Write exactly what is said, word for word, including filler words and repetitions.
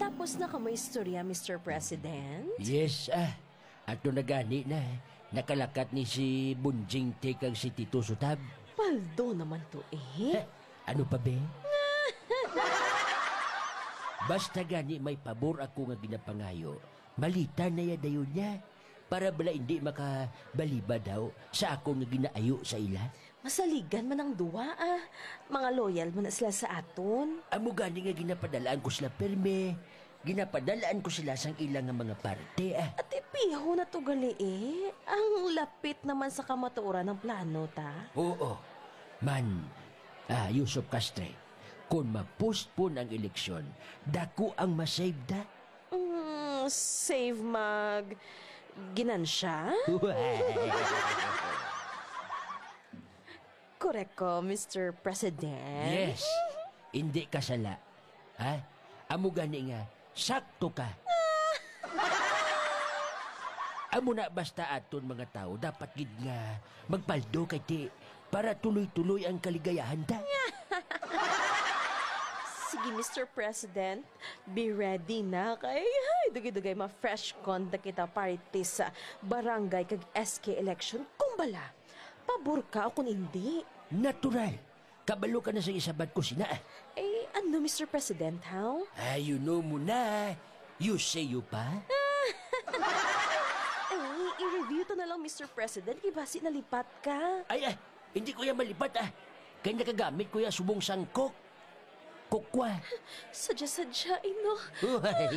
Tapos na kamo istorya, Mister President? Yes, ah. Ato na gani na. Nakalakat ni si Bunjing T kag si Tito Sutab. Paldo naman to eh. Heh, ano pa, be? Basta gani may pabor ako nga ginapangayo, malita na ya dayon niya. Para bala hindi makabalibad daw sa akon nga ginaayo sa ila. Masaligan man ang duwa, ah. Mga loyal man na sila sa aton. Amo gani nga ginapadalaan ko sila perme. Ginapadalaan ko sila sang ila nga mga parte, ah. Ati piho na to gali, eh. Ang lapit naman sa kamatuoran ng plano, ta. Oo. Man, ah, Yusuf Castre, kung ma-postpone ang eleksyon, dako ang masave, da. Mm, save mag ginansya? Korek ko, Mister President? Yes. Hindi ka sala. Ha? Amo gani nga, sakto ka. Amo na, basta aton mga tao, dapat gid nga magpaldo kay ti para tuloy-tuloy ang kaligayahan ta. Sige, Mister President, be ready na kay, ay, dugay-dugay ma-fresh conduct kita party sa barangay kag S K election. Kung bala, pabor ka o kung hindi. Natural. Kabalo ka na sa isabat ko sina. Eh, ano, Mister President, how? Ah, you know mo na. You say you pa? Eh, i-review to na lang, Mister President. Kay basi nalipat ka. Ay, ah, hindi ko yan malipat, ah. Kay nakagamit ko yan subong sangkok. Kukwa. Sadya-sadya, ino. Uhay.